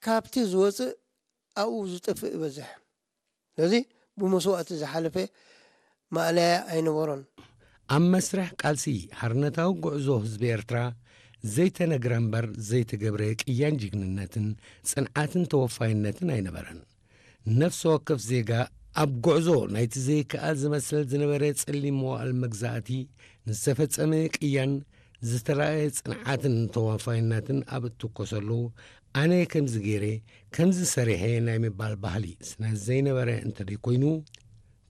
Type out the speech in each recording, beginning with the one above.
ካብቲ ዝወፅእ ኣብኡ ዝጠፍእ ይበዝሕ። ስለዚ ብመስዋእቲ ዝሓለፈ ማእለያ ኣይነበሮን። ኣብ መስርሕ ቃልሲ ሓርነታዊ ጉዕዞ ህዝቢ ኤርትራ ዘይተነግረ እምበር ዘይተገብረ ቅያን ጅግንነትን ጽንዓትን ተወፋይነትን ኣይነበረን። ነፍሲ ወከፍ ዜጋ ኣብ ጉዕዞ ናይቲ ዘይከኣል ዝመስል ዝነበረ ጸሊም መዋእል መግዛእቲ ንዝተፈጸመ ቅያን ዝተራእየ ጽንዓትን ተወፋይነትን ኣብ እትኮሰሉ፣ ኣነ ከምዚ ገይረ፣ ከምዚ ሰሪሐ ናይ ምባል ባህሊ ስነ ዘይነበረ እንተደይኮይኑ፣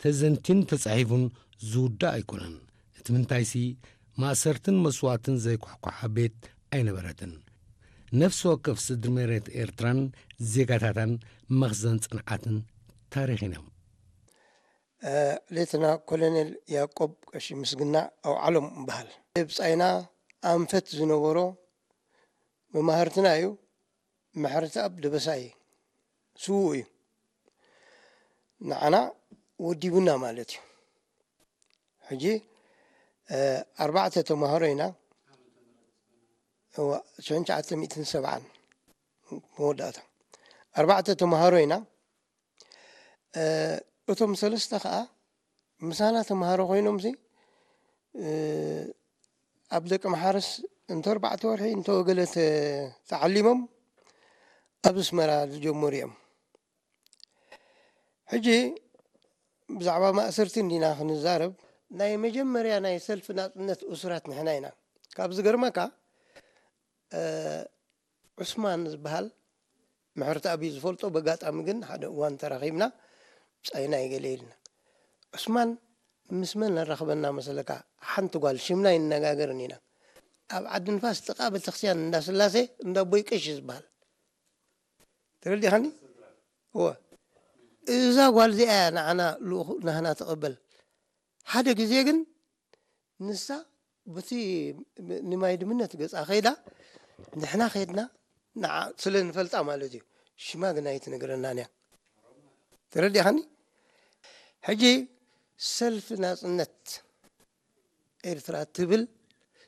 ተዘንቲን ተጻሒፉን ዝውዳእ ኣይኮነን። እቲ ምንታይሲ፣ ማእሰርትን መስዋእትን ዘይኳሕኳሓ ቤት ኣይነበረትን። ነፍሲ ወከፍ ስድሪ መሬት ኤርትራን ዜጋታታን መኽዘን ጽንዓትን ታሪኽን እዮም። እ፣ ሌተና ኮሎኔል ያዕቆብ ቀሺ ምስግና ኣውዓሎም እበሃል። ብጻይና ኣንፈት ዝነበሮ መማህርትና እዩ። ምሕረተኣብ ደበሳይ ስዉእ እዩ። ንዓና ወዲቡና ማለት እዩ። ሕጂ፣ እ፣ ኣርባዕተ ተማሃሮ ኢና። እዋ፣ ሽሕን ትሽዓተ ሚእትን ሰብዓን መወዳእታ። ኣርባዕተ ተማሃሮ ኢና። እ፣ እቶም ሰለስተ ኸኣ ምሳና ተማሃሮ ኮይኖምሲ፣ እ፣ ኣብ ደቂ መሓረስ እንተ ኣርባዕተ ወርሒ እንተ ገለ ተ-፣ ተዓሊሞም ኣብ ኣስመራ ዝጀመሩ እዮም። ሕጂ ብዛዕባ ማእሰርቲ እንዲና ክንዛረብ፣ ናይ መጀመርያ ናይ ሰልፊ ናጽነት እሱራት ንሕና ኢና። ካብ ዝገርመካ፣ እ፣ ዑስማን ዝበሃል ምሕረተኣብ እዩ ዝፈልጦ፣ በጋጣሚ ግን ሓደ እዋን ተራኺብና፣ ብጻይና እዩ ገለ ኢልና። ዑስማን ምስ መን ነራኽበና መሰለካ? ሓንቲ ጓል፣ ሽምና ኣይንነጋገርን ኢና። ኣብ ዓዲ ንፋስ ጥቓ ቤተክርስትያን እንዳ ስላሴ፣ እንዳ ኣቦይ ቀሺ ዝበሃል። ተረዲኻኒ? እወ። እዛ ጓል እዚኣ እያ ንዓና ልኡኽ ናህና ትቕበል። ሓደ ግዜ ግን ንሳ በቲ ንማይ ድምነት ገጻ ከይዳ፣ ንሕና ከይድና ንዓ ስለ ንፈልጣ ማለት እዩ። ሽማ ግን ኣይትነግረናን እያ። ተረዲኻኒ? ሕጂ ሰልፊ ናጽነት ኤርትራ ትብል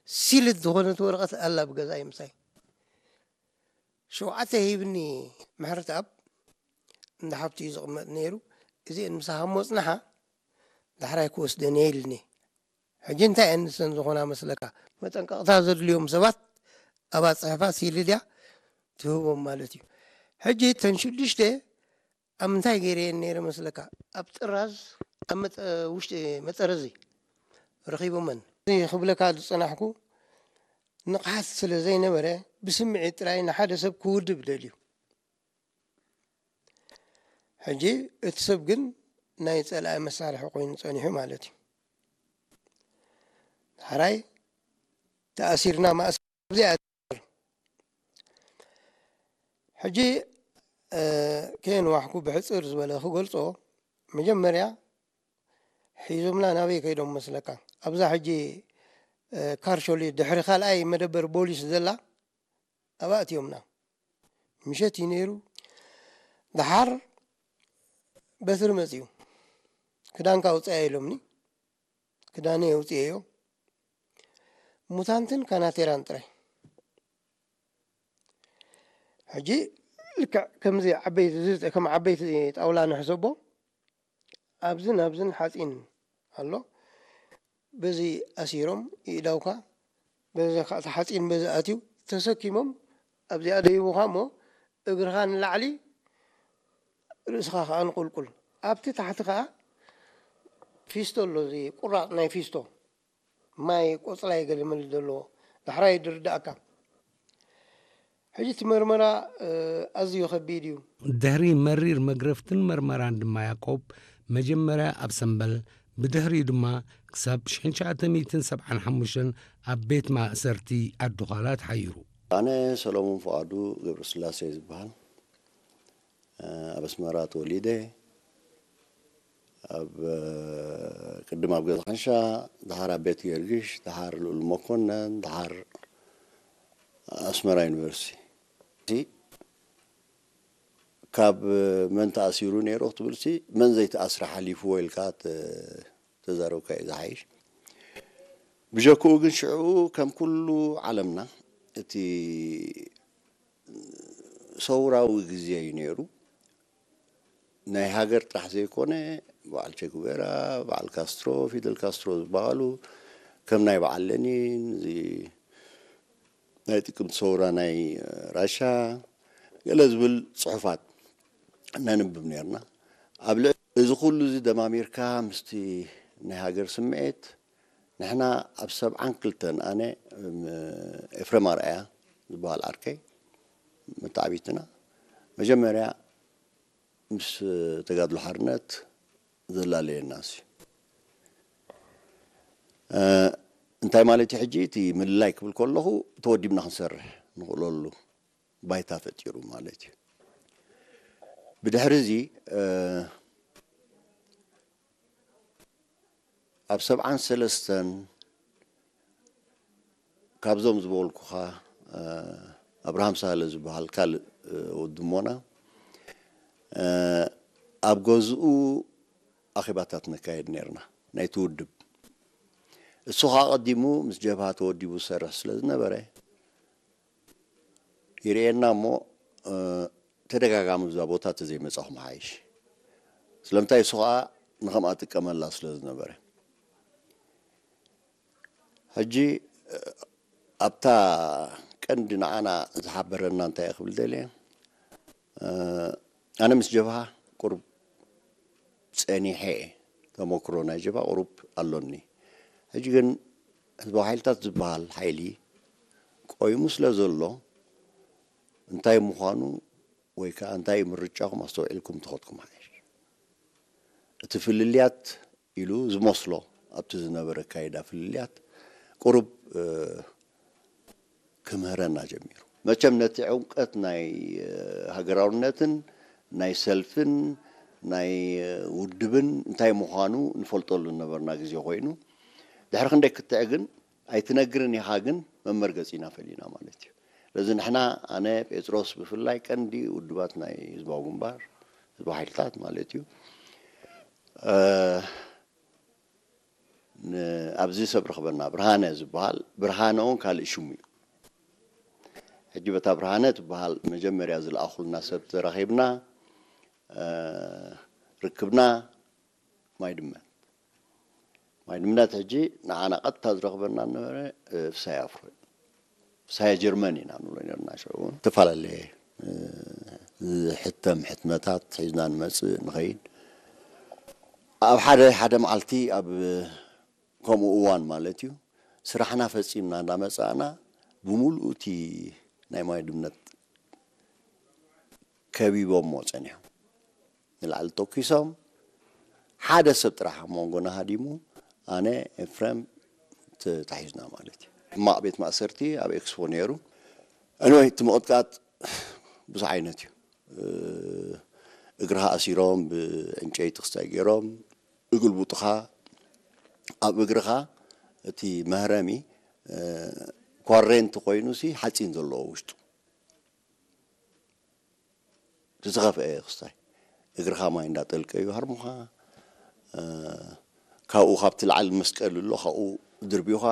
ሲልድ ዝኾነት ወረቐት ኣላ ብገዛይ ምሳይ። ሸውዓተ ሂብኒ ምሕረተኣብ እንዳ ሓብቲ እዩ ዝቕመጥ ነይሩ። እዚአን ምሳኻ ሞጽናሓ ዳሕራይ ክወስደን እየ ኢልኒ። ሕጂ እንታይ እየን ንሰን ዝኾና መስለካ? መጠንቀቕታ ዘድልዮም ሰባት ኣብኣ ጽሕፋ ሲልድ እያ ትህቦም ማለት እዩ። ሕጂ እተን ሽዱሽተ ኣብ ምንታይ ገይረየን ነይረ መስለካ? ኣብ ጥራዝ፣ ኣብ መጠ-፣ ውሽጢ መጠረዚ ረኺቦመን። እዚ ክብለካ ዝጸናሕኩ ንቕሓት ስለ ዘይነበረ ብስምዒት ጥራይ ንሓደ ሰብ ክውድብ ደልዩ። ሕጂ እቲ ሰብ ግን ናይ ጸላኢ መሳርሒ ኮይኑ ጸኒሑ ማለት እዩ። ዳሕራይ ተኣሲርና ማእሰር ኣብዚኣ ሕጂ፣ እ፣ ከየንዋሕኩ ብሕጽር ዝበለ ክገልጾ፣ መጀመርያ ሒዞምና ናበይ ከይዶም መስለካ? ኣብዛ ሕጂ፣ እ፣ ካርሾሊ ድሕሪ ካልኣይ መደበር ቦሊስ ዘላ ኣብኣ ኣትዮምና። ምሸት እዩ ነይሩ። ደሓር በትሪ መጽዩ። ክዳንካ ኣውጽኣ ኢሎምኒ። ክዳነይ ኣውጽኤዮ። ሙታንትን ካናቴራን ጥራይ። ሕጂ ልክዕ ከምዚ ዓበይቲ፣ እዚ ከም ዓበይቲ ጣውላ ንሕሰቦ፣ ኣብዝን ኣብዝን ሓጺን ኣሎ። በዚ ኣሲሮም ይእዳውካ፣ በዚ ከኣ እቲ ሓጺን በዚ ኣትዩ ተሰኪሞም ኣብዚኣ ደይቡኻ እሞ እግርኻ ንላዕሊ ርእስኻ ከኣ ንቁልቁል። ኣብቲ ታሕቲ ከኣ ፊስቶ ኣሎ፣ እዚ ቁራጽ ናይ ፊስቶ። ማይ ቆጽላይ ገለ መለ ዘለዎ ዳሕራይ ድርዳእካ። ሕጂ እቲ መርመራ፣ እ፣ ኣዝዩ ከቢድ እዩ። ድሕሪ መሪር መግረፍትን መርመራን ድማ ያዕቆብ መጀመርያ ኣብ ሰምበል፣ ብድሕሪኡ ድማ ክሳብ ሽሕን ትሽዓተ ሚእትን ሰብዓን ሓሙሽተን ኣብ ቤት ማእሰርቲ ዓዲ ዃላ ተሓይሩ። ኣነ ሰሎሞን ፍቓዱ ገብረስላሴ ዝበሃል፣ እ፣ ኣብ ኣስመራ ተወሊደ። ኣብ፣ እ፣ ቅድም ኣብ ገዛ ካንሻ፣ ደሓር ኣብ ቤት ጊዮርጊስ፣ ደሓር ልኡል መኮነን፣ ደሓር ኣስመራ ዩኒቨርሲቲ። ካብ መን ተኣሲሩ ነይሩ ክትብልሲ፣ መን ዘይተኣስረ ሓሊፍዎ ኢልካ ተ-፣ ተዛረብካ እዩ ዝሓይሽ። ብጀክኡ ግን ሽዑ ከም ኩሉ ዓለምና እቲ ሰውራዊ ግዜ እዩ ነይሩ። ናይ ሃገር ጥራሕ ዘይኮነ፣ በዓል ቸጉቤራ፣ በዓል ካስትሮ፣ ፊደል ካስትሮ ዝበሃሉ፣ ከም ናይ በዓል ለኒን፣ እዚ ናይ ጥቅምቲ ሰውራ ናይ ራሻ፣ ገለ ዝብል ጽሑፋት ነንብብ ነርና። ኣብ ልዕ እዚ ኩሉ እዚ ደማሚርካ ምስቲ ናይ ሃገር ስምዒት፣ ንሕና ኣብ ሰብዓን ክልተን ኣነ፣ እም፣ ኤፍሬም ኣርኣያ ዝበሃል ዓርከይ፣ መተዓቢትና፣ መጀመርያ ምስ ተጋድሎ ሓርነት ዘላለየና እሱ። እ፣ እንታይ ማለት እዩ? ሕጂ እቲ ምልላይ ክብል ከለኹ፣ ተወዲብና ክንሰርሕ ንኽእለሉ ባይታ ፈጢሩ ማለት እዩ። ብድሕሪ እዚ፣ እ፣ ኣብ ሰብዓን ሰለስተን ካብዞም ዝበልኩኻ፣ እ፣ ኣብርሃም ሳህለ ዝበሃል ካልእ፣ እ፣ ወዲ እሞና፣ እ፣ ኣብ ገዝኡ ኣኼባታት ነካየድ ነርና፣ ናይቲ ውድብ። እሱ ኸኣ ቀዲሙ ምስ ጀብሃ ተወዲቡ ዝሰርሕ ስለ ዝነበረ፣ ይርእየና እሞ፣ እ፣ ተደጋጋሚ እዛ ቦታ ተዘይመጻኹም ሓይሽ። ስለምንታይ? እሱ ኸኣ ንኸምኣ ጥቀመላ ስለ ዝነበረ። ሕጂ፣ እ፣ ኣብታ ቀንዲ ንዓና ዝሓበረና እንታይ እየ ክብል ደልየ? እ፣ ኣነ ምስ ጀብሃ ቁሩብ ጸኒሐ እየ። ተመክሮ ናይ ጀብሃ ቁሩብ ኣሎኒ። ሕጂ ግን ህዝባዊ ሓይልታት ዝበሃል ሓይሊ ቆይሙ ስለ ዘሎ፣ እንታይ ምዃኑ ወይ ከኣ እንታይ እዩ ምርጫኹም ኣስተውዒልኩም ተኸድኩም ሓይሽ። እቲ ፍልልያት ኢሉ ዝመስሎ ኣብቲ ዝነበረ ኣካይዳ ፍልልያት ቁሩብ፣ እ፣ ክምህረና ጀሚሩ። መቸም ነቲ ዕምቀት ናይ፣ እ፣ ሃገራውነትን ናይ ሰልፍን ናይ፣ እ፣ ውድብን እንታይ ምዃኑ ንፈልጠሉ ዝነበርና ግዜ ኮይኑ፣ ድሕሪ ክንደይ ክትዕ ግን ኣይትነግርን ኢኻ፣ ግን መመርገጺና ፈሊና ማለት እዩ። ስለዚ ንሕና፣ ኣነ፣ ጴጥሮስ ብፍላይ ቀንዲ ውድባት ናይ ህዝባዊ ግንባር፣ ህዝባዊ ሓይልታት ማለት እዩ፣ እ፣ ን-፣ ኣብዚ ሰብ ረኽበና ብርሃነ ዝበሃል፣ ብርሃነ እውን ካልእ ሽሙ እዩ። ሕጂ በታ ብርሃነ ትበሃል መጀመርያ ዝለኣኹልና ሰብ ተራኺብና፣ እ፣ ርክብና ማይ ድመት። ማይ ድመት ሕጂ ንዓና ቀጥታ ዝረኽበና ዝነበረ፣ እ፣ ፍሳይ ኣፍሮ እዩ። ፍሳይ ጀርመን ኢና ንብሎ ነርና ሽዑ እውን። ዝተፈላለየ፣ እ፣ ዝሕተም ሕትመታት ሒዝና ንመጽእ ንኸይድ። ኣብ ሓደ፣ ሓደ መዓልቲ ኣብ ከምኡ እዋን ማለት እዩ፣ ስራሕና ፈጺምና እንዳመጻእና ብምሉኡ እቲ ናይ ማይ ድመት ከቢቦሞ ጸኒሖም። ንላዕሊ ተኪሶም፣ ሓደ ሰብ ጥራሕ ኣብ መንጎና ሃዲሙ፣ ኣነ፣ ኤፍሬም፣ ተታሒዝና ማለት እዩ። ሕማቕ ቤት ማእሰርቲ ኣብ ኤክስፖ ነይሩ። ኣንወይ፣ እቲ ምቕጥቃጥ ብዙሕ ዓይነት እዩ። እ፣ እግርኻ ኣሲሮም፣ ብዕንጨይቲ ክስታይ ገይሮም፣ እግልቡጥኻ፣ ኣብ እግርኻ እቲ መህረሚ፣ እ፣ ኳሬንቲ ኮይኑሲ ሓፂን ዘለዎ ውሽጡ። እቲ ዝኸፍአ ክስታይ እግርኻ ማይ እንዳጠልቀዩ ሃርሙኻ፣ እ፣ ካብኡ ካብቲ ላዕሊ መስቀል ኣሎ፣ ካብኡ ድርቢኻ፣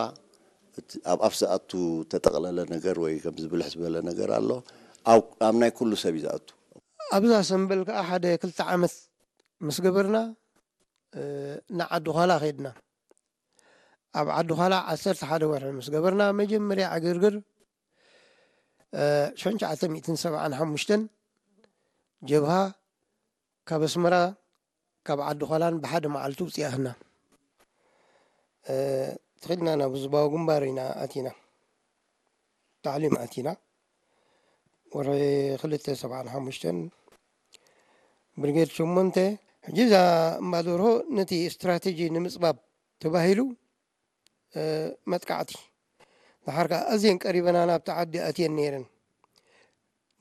እቲ ኣብ ኣፍ ዝኣቱ ተጠቕለለ ነገር ወይ ከምዚ ብልሕ ዝበለ ነገር ኣሎ። ኣብ፣ ኣብ ናይ ኩሉ ሰብ እዩ ዝኣቱ። ኣብዛ ሰምበል ከኣ ሓደ ክልተ ዓመት ምስ ገበርና፣ እ፣ ንዓዲ ዃላ ኸድና። ኣብ ዓዲ ዃላ ዓሰርተ ሓደ ወርሒ ምስ ገበርና፣ መጀመርያ ዕግርግር፣ እ፣ ሸንሸዓተ ሚእትን ሰብዓን ሓሙሽተን ጀብሃ ካብ ኣስመራ፣ ካብ ዓዲ ዃላን ብሓደ መዓልቲ ውፅኣትና። እ፣ ተኺድና ናብ ህዝባዊ ግንባር ኢና ኣቲና። ታዕሊም ኣቲና። ወርሒ ክልተ ሰብዓን ሓሙሽተን ብርጌድ ሸሞንተ። ሕጂ እዛ እምባ ደርሆ ነቲ ስትራቴጂ ንምጽባብ ተባሂሉ፣ እ፣ መጥቃዕቲ። ደሓር ከኣ ኣዝየን ቀሪበና ናብቲ ዓዲ ኣትየን ነይረን።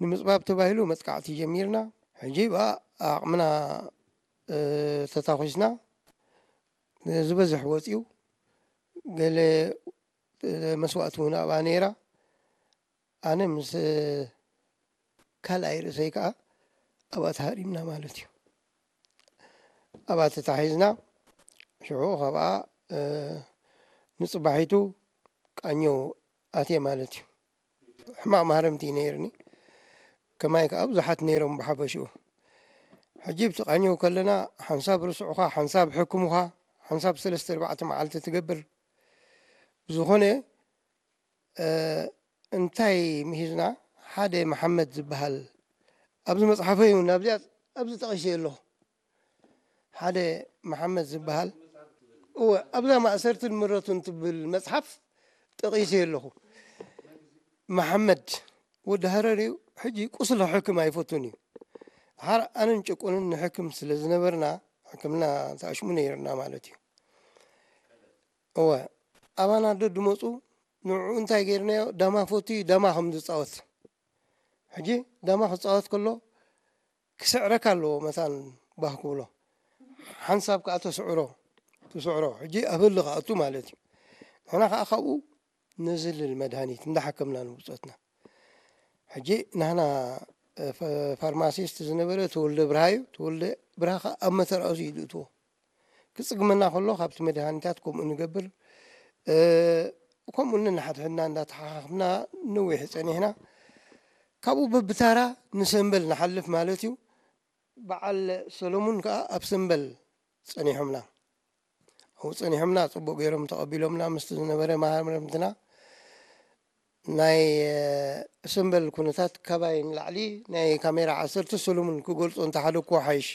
ንምጽባብ ተባሂሉ መጥቃዕቲ ጀሚርና። ሕጂ ብኣ ዓቕምና፣ እ፣ ተታኺስና። ዝበዝሕ ወጺኡ፣ ገለ፣ እ፣ መስዋእቲ እውን ኣብኣ ነይራ። ኣነ ምስ ካልኣይ ርእሰይ ከኣ ኣብኣ ተሃሪምና ማለት እዩ። ኣብኣ ተታሒዝና፣ ሽዑ ካብኣ፣ እ፣ ንጽባሒቱ ቃኘው ኣትየ ማለት እዩ። ሕማቕ ማህረምቲ እዩ ነይርኒ። ከማይ ከዓ ብዙሓት ነይሮም ብሓፈሽኡ። ሕጂ ብትቃኘው ከለና ሓንሳብ ርስዑኻ፣ ሓንሳብ ሕክሙኻ፣ ሓንሳብ ሰለስተ ኣርባዕተ መዓልቲ ትገብር። ብዝኾነ እንታይ ምሂዝና? ሓደ መሓመድ ዝበሃል ኣብዚ መፅሓፈይ እውን ኣብዚኣ ኣብዚ ጠቒሰ ኣለኹ። ሓደ መሓመድ ዝበሃል እወ ኣብዛ ማእሰርትን ምረቱን ትብል መፅሓፍ ጠቒሰ ኣለኹ። መሓመድ ወዲ ሃረር እዩ። ሕጂ ቁስሊ ሕክም ኣይፈቱን እዩ። ሓር ኣነን ጭቁንን ንሕክም ስለ ዝነበርና ሕክምና ተኣሽሙ ነይርና ማለት እዩ። እወ ኣባና ዶ ድመፁ ንዕኡ እንታይ ገይርናዮ? ዳማ ፈትዩ ዳማ ከም ዝፃወት። ሕጂ ዳማ ክፃወት ከሎ ክስዕረካ ኣለዎ። መታን ባህ ክብሎ ሓንሳብ ከዓ ተስዕሮ ትስዕሮ። ሕጂ ኣብ ህሊ ክኣቱ ማለት እዩ። ንሕና ከዓ ካብኡ ንዝልል መድሃኒት እንዳሓከምና ንብፆትና። ሕጂ ናህና ፋርማሲስት ዝነበረ ተወልደ ብርሃ እዩ። ተወልደ ብርሃ ከዓ ኣብ መተርኣሱ እዩ ዝእትዎ። ክጽግመና ከሎ ካብቲ መድሃኒታት ከምኡ ንገብር። ከምኡ ነንሓድሕድና እንዳተሓኻኽብና ነዊሕ ጸኒሕና። ካብኡ በብታራ ንሰምበል ንሓልፍ ማለት እዩ። በዓል ሰሎሙን ከኣ ኣብ ሰምበል ጸኒሖምና። ኣብኡ ጸኒሖምና ጽቡቕ ገይሮም ተቐቢሎምና ምስቲ ዝነበረ መሃርምትና። ናይ ሰምበል ኩነታት ካባይ ንላዕሊ ናይ ካሜራ ዓሰርተ ሰሎሙን ክገልጾ እንተሓደግኩ ሓይሽ።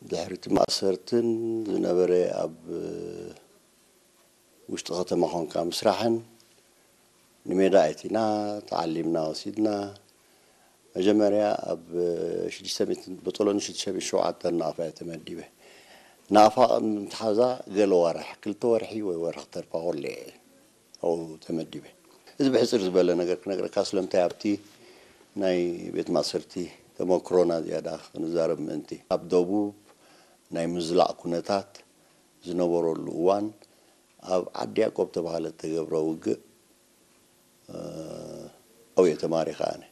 ድሕሪ እቲ ማእሰርትን ዝነበረ ኣብ ውሽጢ ከተማ ኾንካ ምስራሕን ንሜዳ ኣእቲና ተዓሊምና ወሲድና። መጀመርያ ኣብ ሽዱሽተ ሚእትን በጦሎኒ ሽዱሽተ ሚእትን ሸውዓተን ናቕፋ እየ ተመዲበ። ናቕፋ ቅድሚ ምትሓዛ ገለ ወርሕ ክልተ ወርሒ ወይ ወርሒ ክተርፋ ኮሎ እየ ኣብኡ ተመዲበ። እዚ ብሕፅር ዝበለ ነገር ክነግረካ ስለምንታይ ኣብቲ ናይ ቤት ማእሰርቲ ተመክሮና ዝያዳ ክንዛረብ ምእንቲ ኣብ ደቡብ ናይ ምዝላቕ ኩነታት ዝነበረሉ እዋን ኣብ ዓዲ ያቆብ ተባሃለ ተገብረ ውግእ ኣብኡ እየ ተማሪኸ ኣነ።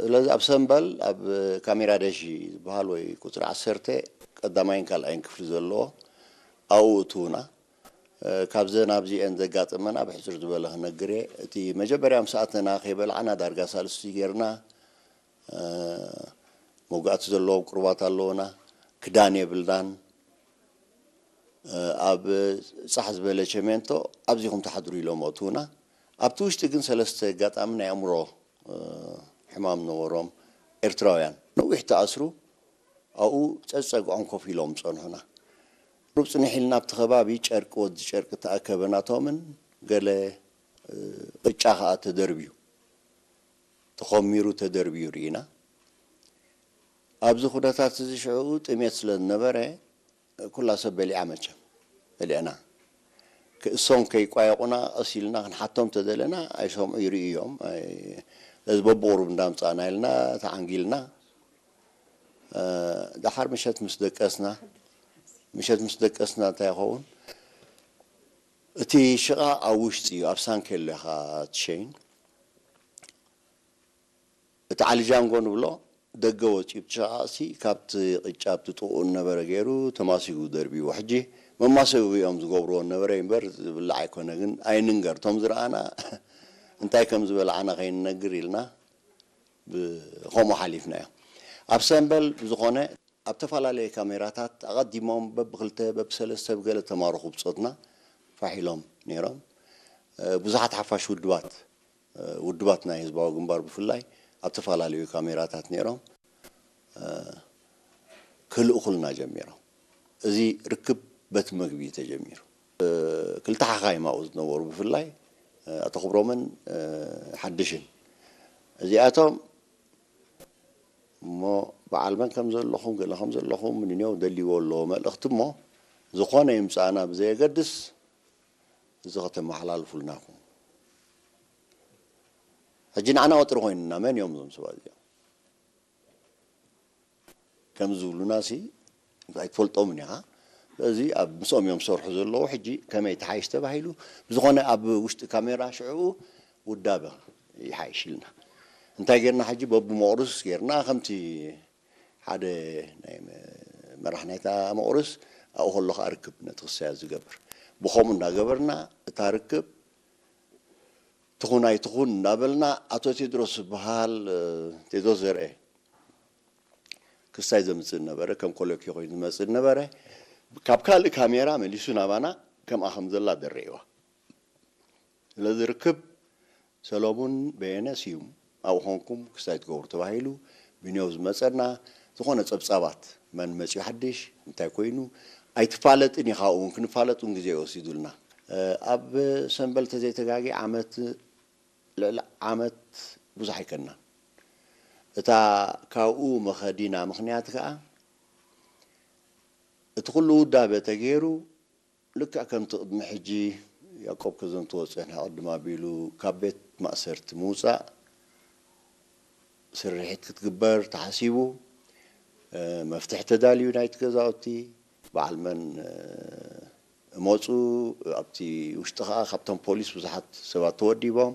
ስለዚ ኣብ ሰምበል ኣብ ካሜራ ደሺ ዝበሃል ወይ ቁፅሪ ዓሰርተ ቀዳማይን ካልኣይን ክፍሊ ዘለዎ ኣብኡ እትውና ካብዘን ኣብዚአን ዘጋጠመና ብሕፅር ዝበለ ክነግር እየ። እቲ መጀመርያ ምስ ኣተና ከይበላዕና ዳርጋ ሳልስቲ ጌርና መጉኣቲ ዘለዎም ቁሩባት ኣለውና። ክዳን የብልናን። ኣብ ፃሕ ዝበለ ቸሜንቶ ኣብዚኹም ትሓድሩ ኢሎም ኣእትውና። ኣብቲ ውሽጢ ግን ሰለስተ ኣጋጣሚ ናይ ኣእምሮ ሕማም ነበሮም ኤርትራውያን ነዊሕ ተኣስሩ ኣብኡ ፀፀግዖም ኮፍ ኢሎም ፀንሑና። ሩብ ፅንሕ ኢልና ኣብቲ ከባቢ ጨርቂ ወዲ ጨርቂ ተኣከበ ናቶምን ገለ ቅጫ ከዓ ተደርብዩ ተኾሚሩ ተደርብዩ ርኢና። ኣብዚ ኩነታት እዚ ሽዕኡ ጥሜት ስለ ዝነበረ ኩላ ሰብ በሊዓ መቸም በሊዕና ክእሶም ከይቋየቑና ቀስ ኢልና ክንሓቶም ተደለና ኣይሰምዑ ይርእዩ እዮም። ስለዚ በብቑሩብ እንዳምፃእና ኢልና ተዓንጊልና። ደሓር ምሸት ምስ ደቀስና ምሸት ምስ ደቀስና እንታይ ይኸውን እቲ ሽቓ ኣብ ውሽጢ እዩ ኣብ ሳንኬሎ ኢኻ ትሸይን። እቲ ዓሊ ጃንጎ ንብሎ ደገ ወፂኡ እቲ ሽቓ እሲ ካብቲ ቅጫ ኣብቲ ጥቕኡ ነበረ ገይሩ ተማሲጉ ደርብይዎ። ሕጂ መማሰቢ እዮም ዝገብርዎ ነበረ እምበር ዝብላዕ ኣይኮነ ግን ኣይንንገር እቶም ዝረኣና እንታይ ከም ዝበላዕና ከይንነግር ኢልና ብኸምኡ ሓሊፍናዮ። ኣብ ሰምበል ብዝኾነ ኣብ ተፈላለየ ካሜራታት ኣቐዲሞም በብክልተ በብሰለስተ ብገለ ተማረኹ ብጾትና ፋሕ ኢሎም ነይሮም። ብዙሓት ሓፋሽ ውድባት ውድባት ናይ ህዝባዊ ግንባር ብፍላይ ኣብ ተፈላለዩ ካሜራታት ነይሮም ክልእኹልና ጀሚሮም። እዚ ርክብ በቲ መግቢ እዩ ተጀሚሩ። ክልተ ሓኻይም ኣብኡ ዝነበሩ ብፍላይ ኣቶ ክብሮምን ሓድሽን እዚኣቶም እሞ በዓል መን ከም ዘለኹም ገለ ከም ዘለኹም ንኔው ደልይዎ ኣለዎ መልእኽቲ እሞ ዝኾነ ይምፃእና ብዘየገድስ እዚ ከተመሓላልፉልና ኢኹም። ሕጂ ንዓና ወጥሪ ኮይኑና መን እዮም እዞም ሰባት እዚኦም ከም ዝብሉና ሲ ኣይትፈልጦምን ኢኻ። ስለዚ ኣብ ምስኦም እዮም ዝሰርሑ ዘለዉ። ሕጂ ከመይ ተሓይሽ ተባሂሉ ብዝኾነ ኣብ ውሽጢ ካሜራ ሽዕኡ ውዳበ ይሓይሽ ኢልና እንታይ ጌርና ሕጂ በብመቑርስ ጌርና ከምቲ ሓደ ናይ መራሕ ናይታ መቑርስ ኣብኡ ከሎ ከዓ ርክብ ነቲ ክሳያት ዝገብር ብኸምኡ እንዳገበርና እታ ርክብ ትኹን ኣይትኹን እናበልና፣ ኣቶ ቴድሮስ ዝበሃል፣ እ፣ ቴድሮስ ዘርኤ ክስታይ ዘምጽእ ነበረ፣ ከም ኮለኪ ኮይኑ ዝመጽእ ነበረ። ካብ ካልእ ካሜራ መሊሱ ናባና ከምኣ ከም ዘላ ደረይዋ። ስለዚ ርክብ ሰሎሙን በየነ ስዩም ኣብኡ ኮንኩም ክስታይ ትገብሩ ተባሂሉ ብኒዮብ ዝመጸና ዝኾነ ጸብጻባት፣ መን መጺኡ ሓድሽ፣ እንታይ ኮይኑ፣ ኣይትፋለጥን ኢኻ፣ ኣብኡ እውን ክንፋለጥ እውን ግዜ ወሲዱልና። እ፣ ኣብ ሰንበል ተዘይተጋጊ ዓመት፣ ልዕሊ ዓመት ብዙሕ ኣይከናን። እታ ካብኡ መኸዲና ምኽንያት ከኣ፣ እቲ ኩሉ ውዳበ ተገይሩ፣ ልክዕ ከምቲ ቅድሚ ሕጂ ያዕቆብ ከዘንትዎ ዝጸንሐ ቅድም ኣቢሉ ካብ ቤት ማእሰርቲ ምውጻእ ስርሒት ክትግበር ተሓሲቡ፣ እ፣ መፍትሒ ተዳልዩ ናይቲ ገዛውቲ፣ በዓል መን፣ እ፣ እመጹ፣ ኣብቲ ውሽጢ ከኣ ካብቶም ፖሊስ ብዙሓት ሰባት ተወዲቦም።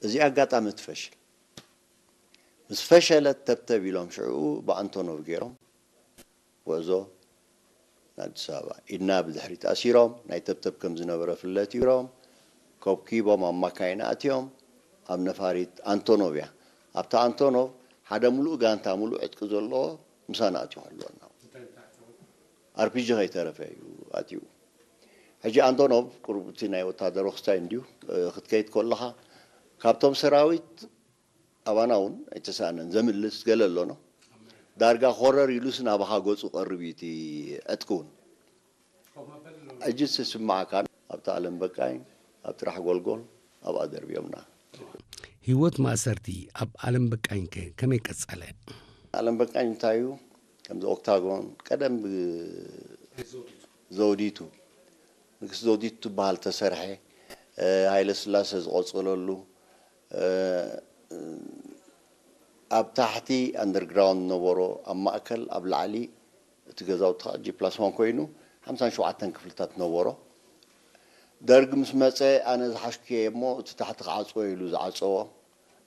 እዚ ኣጋጣሚ ትፈሽል። ምስ ፈሸለት ተብተብ ኢሎም ሽዕኡ ብኣንቶኖቭ ገይሮም ጉዕዞ ንኣዲስ ኣበባ። ኢድና ብድሕሪት ኣሲሮም፣ ናይ ተብተብ ከም ዝነበረ ፍለጥ ይሮም፣ ኮብኪቦም ኣብ ማካይን ኣእትዮም፣ ኣብ ነፋሪት ኣንቶኖቭ እያ። ኣብታ ኣንቶኖቭ ሓደ ሙሉእ ጋንታ፣ ሙሉእ ዕጥቂ ዘለዎ ምሳና ኣትዩ ክህልወና። ኣርፒጂ ከይተረፈ እዩ ኣትዩ። ሕጂ ኣንቶኖቭ ቁሩብ እቲ ናይ ወታደሮ ክስታይ እንድዩ፣ እ፣ ክትከይድ ከለኻ ካብቶም ሰራዊት ኣባና እውን ኣይተሳእነን፣ ዘምልስ ገለ ኣሎ ነው። ዳርጋ ኮረር ኢሉስ ናባኻ ገጹ ቀርብ እዩ እቲ ዕጥቂ እውን። ሕጂ ዝስማዓካ ኣብቲ ኣለም በቃኝ፣ ኣብ ጥራሕ ጎልጎል፣ ኣብኣ ደርብዮምና። ህይወት ማእሰርቲ ኣብ ኣለም በቃኝከ ከመይ ቀጸለ? ኣለም በቃኝ እንታይ እዩ? ከምዚ ኦክታጎን ቀደም ብ-፣ ዘውዲቱ፣ ንግስቲ ዘውዲቱ ትበሃል ተሰርሐ፣ እ፣ ሃይለ ስላሰ ዝቐጸለሉ፣ እ፣ ኣብ ታሕቲ ኣንደርግራውንድ ነበሮ፣ ኣብ ማእከል፣ ኣብ ላዕሊ እቲ ገዛውቲ ኸዓ ጂ ፕላስ ዋን ኮይኑ ሓምሳን ሸውዓተን ክፍልታት ነበሮ። ደርግ ምስ መጸ ኣነ ዝሓሽኩ እየ እሞ እቲ ታሕቲ ክዓጽዎ ኢሉ ዝዓጸዎ።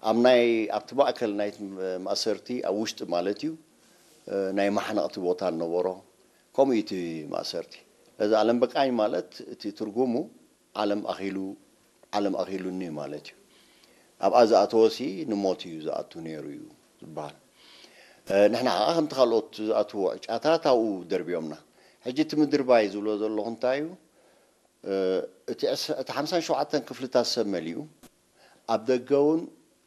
ኣብ ናይ፣ ኣብቲ ማእከል ናይቲ ማእሰርቲ፣ ኣብ ውሽጢ ማለት እዩ፣ እ፣ ናይ ማሕነቕቲ ቦታ ነበሮ። ከምኡ እዩ እቲ ማእሰርቲ። ስለዚ ኣለም በቃኝ ማለት እቲ ትርጉሙ ዓለም ኣኺሉ፣ ዓለም ኣኺሉኒ ማለት እዩ። ኣብኣ ዝኣተወሲ ንሞት እዩ ዝኣቱ ነይሩ እዩ ዝበሃል። እ፣ ንሕና ኸዓ ከምቲ ካልኦት ዝኣትዎ ዕጫታት ኣብኡ ደርብዮምና። ሕጂ እቲ ምድርባይ ዝብሎ ዘለኹ እንታይ እዩ? እ፣ እቲ ዕስ-፣ እቲ ሓምሳን ሸውዓተን ክፍልታት ሰብ መሊኡ፣ ኣብ ደገ እውን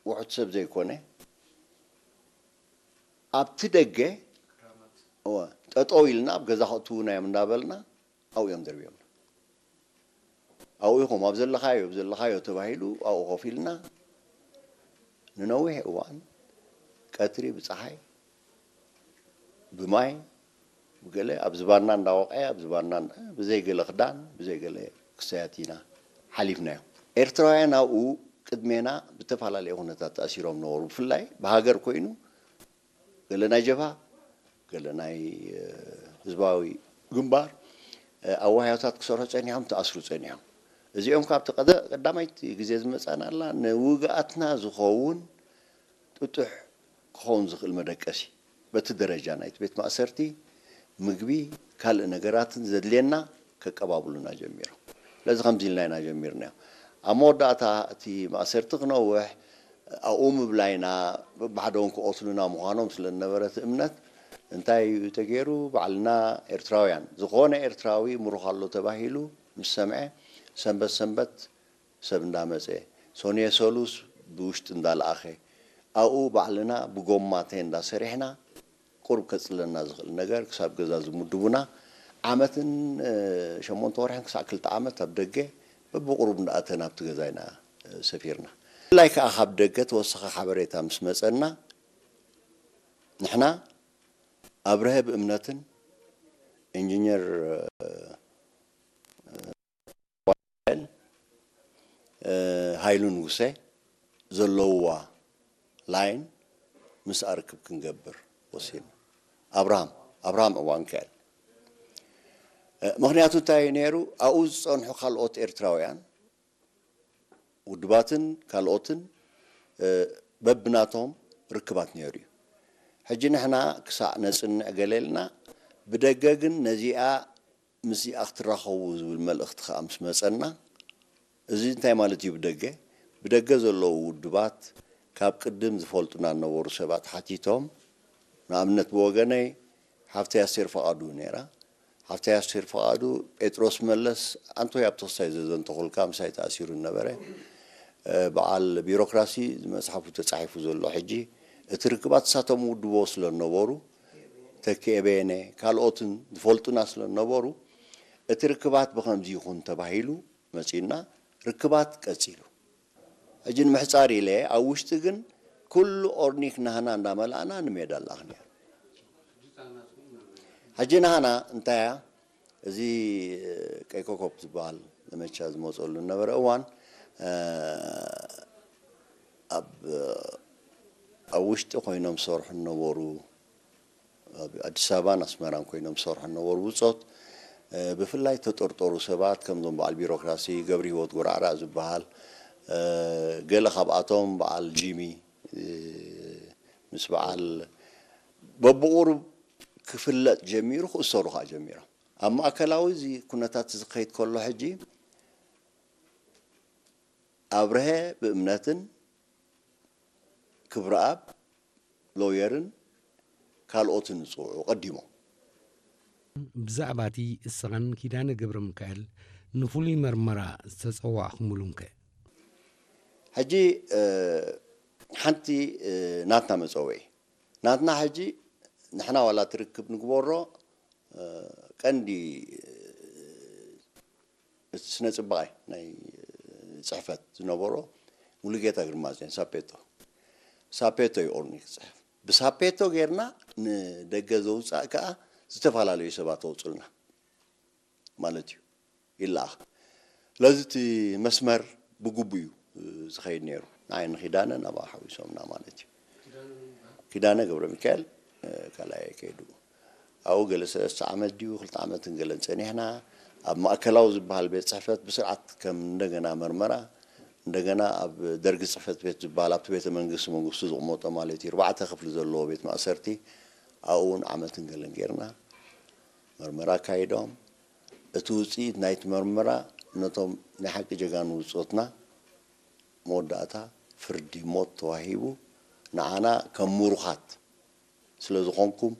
ውሑድ ሰብ ዘይኮነ፣ ኣብቲ ደገ፣ እወ፣ ጠጠው ኢልና ኣብ ገዛ ከእትዉና እዮም እንዳበልና ኣብኡ እዮም ደርብዮምና። ኣብኡ ኢኹም፣ ኣብ ዘለኻዮ፣ ኣብ ዘለኻዮ ተባሂሉ ኣብኡ ኮፍ ኢልና ንነዊሕ እዋን ቀትሪ ብጸሓይ ብማይ ብገለ ኣብ ዝባና እንዳወቐዐ፣ ኣብ ዝባና እንዳ-፣ ብዘይ ገለ ክዳን፣ ብዘይ ገለ ክሳያት ኢና ሓሊፍናዮ። ኤርትራውያን ኣብኡ ቅድሜና ብተፈላለየ ኩነታት ተኣሲሮም ነበሩ። ብፍላይ ብሃገር ኮይኑ ገለ ናይ ጀብሃ፣ ገለ ናይ፣ እ፣ ህዝባዊ ግንባር፣ እ፣ ኣዋህያታት ክሰርሑ ጸኒሖም፣ ተኣስሩ ጸኒሖም። እዚኦም ካብቲ ቀደ-፣ ቀዳማይቲ ግዜ ዝመጻናላ ንውግኣትና ዝኸውን ጥጡሕ ክኸውን ዝኽእል መደቀሲ፣ በቲ ደረጃ ናይቲ ቤት ማእሰርቲ ምግቢ፣ ካልእ ነገራትን ዘድልየና ከቀባብሉና ጀሚሮም። ስለዚ ከምዚ ኢልና ኢና ጀሚርናዮ። ኣብ መወዳእታ እቲ ማእሰርቲ ክነውሕ ኣብኡ ምብላይና፣ በብሓደኦም ክቐትሉና ምዃኖም ስለ ዝነበረ እቲ እምነት፣ እንታይ እዩ ተገይሩ? ባዕልና ኤርትራውያን፣ ዝኾነ ኤርትራዊ ምሩኽ ኣሎ ተባሂሉ ምስ ሰምዐ፣ ሰንበት ሰንበት ሰብ እንዳመጸ፣ ሰኑየ ሰሉስ ብውሽጢ እንዳለኣኸ፣ ኣብኡ ባዕልና ብጎማ ቴንዳ ሰሪሕና፣ ቁሩብ ከጽልለና ዝኽእል ነገር ክሳብ ገዛ ዝምድቡና፣ ዓመትን፣ እ፣ ሸሞንተ ወርሕን ክሳዕ ክልተ ዓመት ኣብ ደገ በብቁሩብ እንዳኣተና ኣብቲ ገዛ ኢና፣ እ፣ ሰፊርና። ብፍላይ ከኣ ካብ ደገ ተወሳኺ ሓበሬታ ምስ መጸና፣ ንሕና ኣብርሀ ብእምነትን ኢንጂነር፣ እ፣ እ፣ ሃይሉ ንጉሰ ዘለውዋ ላይን ምስ ኣርክብ ክንገብር ወሲኑ። ኣብርሃም፣ ኣብርሃም ዕዋንካኤል። እ፣ ምኽንያቱ እንታይ እዩ ነይሩ? ኣብኡ ዝጸንሑ ካልኦት ኤርትራውያን ውድባትን ካልኦትን፣ እ፣ በብናቶም ርክባት ነይሩ እዩ። ሕጂ ንሕና ክሳዕ ነጽንዕ ገለ ኢልና፣ ብደገ ግን ነዚኣ ምስዚኣ ክትራኸቡ ዝብል መልእኽቲ ከኣ ምስ መጸና፣ እዚ እንታይ ማለት እዩ? ብደገ ብደገ ዘለዉ ውድባት ካብ ቅድም ዝፈልጡና ዝነበሩ ሰባት ሓቲቶም፣ ንኣብነት ብወገነይ ሓፍተይ ኣስቴር ፍቓዱ ነይራ። ሓፍተይ ኣስቴር ፍቓዱ፣ ጴጥሮስ መለስ ኣንቶይ ኣብ ተኽሳይ ዘዘንተኹልካ ምሳይ ተኣሲሩ ነበረ። በዓል ቢሮክራሲ መፅሓፉ ተፃሒፉ ዘሎ ሕጂ፣ እቲ ርክባት እሳቶም ውድቦ ስለ ዝነበሩ፣ ተኪኤ በየነ ካልኦትን ዝፈልጡና ስለ ዝነበሩ፣ እቲ ርክባት ብኸምዚ ይኹን ተባሂሉ መፂኡና፣ ርክባት ቀፂሉ። ሕጂ ንምሕፃር ኢለ ኣብ ውሽጢ ግን ኩሉ ኦርኒክ ናህና እንዳመላእና ንሜዳ ኣላኽንያ። ሕጂ ናህና እንታይ እያ? እዚ ቀይ ኮኮብ ዝበሃል ዘመቻ ዝመፀሉ ዝነበረ እዋን፣ ኣብ ኣብ ውሽጢ ኮይኖም ዝሰርሑ ዝነበሩ፣ ኣብ ኣዲስ ኣበባን ኣስመራን ኮይኖም ዝሰርሑ ዝነበሩ ብጾት፣ ብፍላይ ተጠርጠሩ ሰባት ከምዞም በዓል ቢሮክራሲ ገብረ ህይወት ጉራዕራዕ ዝበሃል፣ ገለ ካብኣቶም በዓል ጂሚ፣ ምስ በዓል በብቑሩብ ክፍለጥ ጀሚሩ፣ ክእሰሩ ከኣ ጀሚሮም። ኣብ ማእከላዊ እዚ ኩነታት እዚ ክኸይድ ከሎ፣ ሕጂ ኣብርሀ ብእምነትን ክብረኣብ ሎየርን ካልኦትን ዝጽውዑ ቀዲሞም። ብዛዕባ እቲ እስኻን ኪዳነ ገብረ ሚካኤል ንፍሉይ መርመራ ዝተጸዋዕኹምሉም ከ? ሕጂ ሓንቲ ናትና መጸውዒ፣ ናትና ሕጂ ንሕና ዋላ ትርክብ ንግበሮ፣ ቀንዲ እቲ ስነ ጽባቐ ናይ ጽሕፈት ዝነበሮ ሙሉጌታ ግርማጽዮን ሳፔቶ፣ ሳፔቶ እዩ ኦርኒክ ዝጽሕፍ። ብሳፔቶ ጌርና ንደገ ዘውጻእ ከኣ ዝተፈላለዩ ሰባት ኣውጹልና ማለት እዩ፣ ይለኣኽ። ስለዚ እቲ መስመር ብግቡእ እዩ ዝኸይድ ነይሩ። ንዓይ ንኪዳነ ናብኣ ሓዊሶምና ማለት እዩ። ኪዳነ ገብረ ሚካኤል ካልኣይ ከይዱ ኣብኡ ገለ ሰለስተ ዓመት ድዩ ክልተ ዓመትን ገለን ጸኒሕና። ኣብ ማእከላዊ ዝበሃል ቤት ጽሕፈት ብስርዓት ከም እንደገና መርመራ፣ እንደገና ኣብ ደርጊ ጽሕፈት ቤት ዝበሃል ኣብቲ ቤተ መንግስቲ መንግስቱ ዝቕመጦ ማለት እዩ፣ ኣርባዕተ ክፍሊ ዘለዎ ቤት ማእሰርቲ ኣብኡ እውን ዓመትን ገለን ጌርና። መርመራ ኣካይዶም። እቲ ውጽኢት ናይቲ መርመራ ነቶም ናይ ሓቂ ጀጋኑ ብጾትና መወዳእታ ፍርዲ ሞት ተዋሂቡ፣ ንዓና ከም ምሩኻት ስለ ዝኾንኩም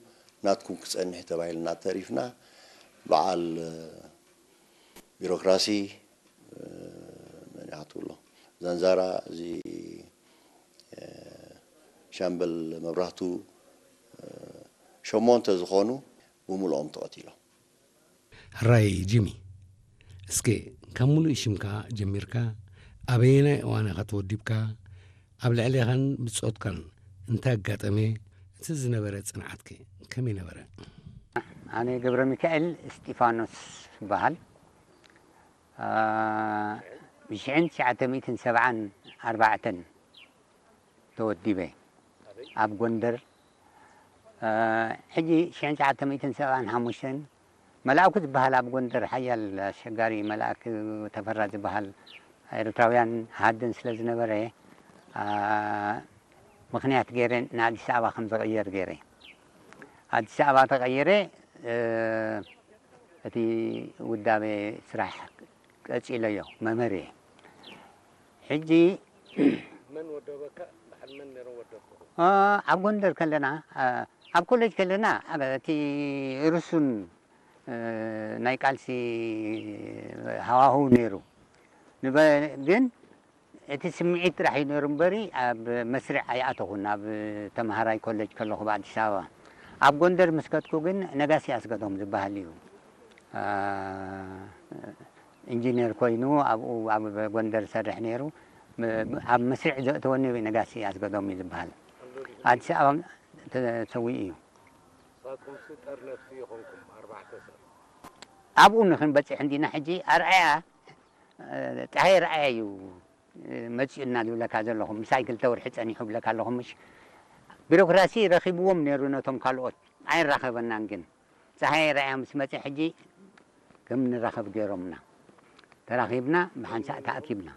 ናትኩም ክጸንሕ ተባሂልና ተሪፍና። በዓል ቢሮክራሲ፣ መን ኢኻ ትብሎ፣ ዛንዛራ፣ እዚ ሻምበል መብራህቱ፣ ሸሞንተ ዝኾኑ ብምልኦም ተቐቲሎም። ሕራይ ጂሚ፣ እስከ ካብ ምሉእ ሽምካ ጀሚርካ ኣበየናይ እዋን ኢኻ ተወዲብካ? ኣብ ልዕሌኻን ብጾትካን እንታይ ኣጋጠመ? እቲ ዝነበረ ጽንዓትከ ከመይ ነበረ? ኣነ ገብረ ሚካኤል እስጢፋኖስ ይበሃል። ብሽሕን ትሽዓተ ሚእትን ሰብዓን ኣርባዕተን ተወዲበ ኣብ ጎንደር። ሕጂ ሽሕን ትሽዓተ ሚእትን ሰብዓን ሓሙሽተን መልኣኩ ዝበሃል ኣብ ጎንደር ሓያል ኣሸጋሪ መልኣክ ተፈራ ዝበሃል ኤርትራውያን ሃድን ስለ ዝነበረ፣ ምኽንያት ገይረ ንኣዲስ ኣበባ ከም ዝቕየር ገይረ። ኣዲስ ኣበባ ተቐይረ፣ እቲ ውዳበ ስራሕ ቀጺለዮ፣ መምህር እየ። ሕጂ መን ወደበካ? በዓል መን ነይሮም ወደብኩም? ኣብ ጎንደር ከለና፣ ኣብ ኮሌጅ ከለና፣ እቲ ርሱን ናይ ቃልሲ ሃዋህው ነይሩ። ግን እቲ ስምዒት ጥራሕ እዩ ነይሩ እምበሪ፣ ኣብ መስርዕ ኣይኣተኹን። ኣብ ተምሃራይ ኮሌጅ ከለኹ ኣብ ኣዲስ ኣበባ። ኣብ ጎንደር ምስ ከድኩ ግን ነጋሲ ኣስገዶም ዝበሃል እዩ። ኢንጂነር ኮይኑ ኣብኡ ኣብ ጎንደር ዝሰርሕ ነይሩ። ኣብ መስርዕ ዘእተወኒ ነጋሲ ኣስገዶም እዩ ዝበሃል። ኣዲስ ኣበባ ተሰዊኡ እዩ። ንሳትኩምሲ ጠርነፍቲ ኢኹምኩም፣ ኣርባዕተ ሰብ። ኣብኡ ንኽንበፅሕ እንዲና ሕጂ ኣርኣያ፣ ፀሃየ ርኣያ እዩ መፂኡና ዝብለካ ዘለኹ። ምሳይ ክልተ ወርሒ ፀኒሑ ብለካ ኣለኹ ምሽ። ቢሮክራሲ ረኺብዎም ነይሩ ነቶም ካልኦት፣ ኣይራኸበናን ግን። ፀሃየ ርኣያ ምስ መፀ ሕጂ ከም ንራኸብ ገይሮምና። ተራኺብና ብሓንሳእ ተኣኪብና።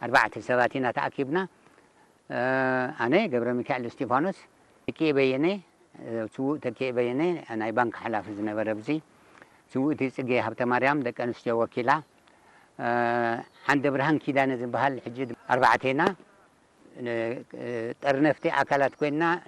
ኣርባዕተ ሰባት ኢና ተኣኪብና። ኣነ ገብረ ሚካኤል እስጢፋኖስ፣ ተኪኤ በየነ፣ ስዉእ ተኪኤ በየነ ናይ ባንክ ሓላፊ ዝነበረ ኣብዚ፣ ስውእቲ ጽጌ ሃብተማርያም ደቂ ኣንስትዮ ወኪላ፣ ዓንደ ብርሃን ኪዳነ ዝበሃል ሕጂ ኣርባዕቴና ጠርነፍቲ ኣካላት ኮይና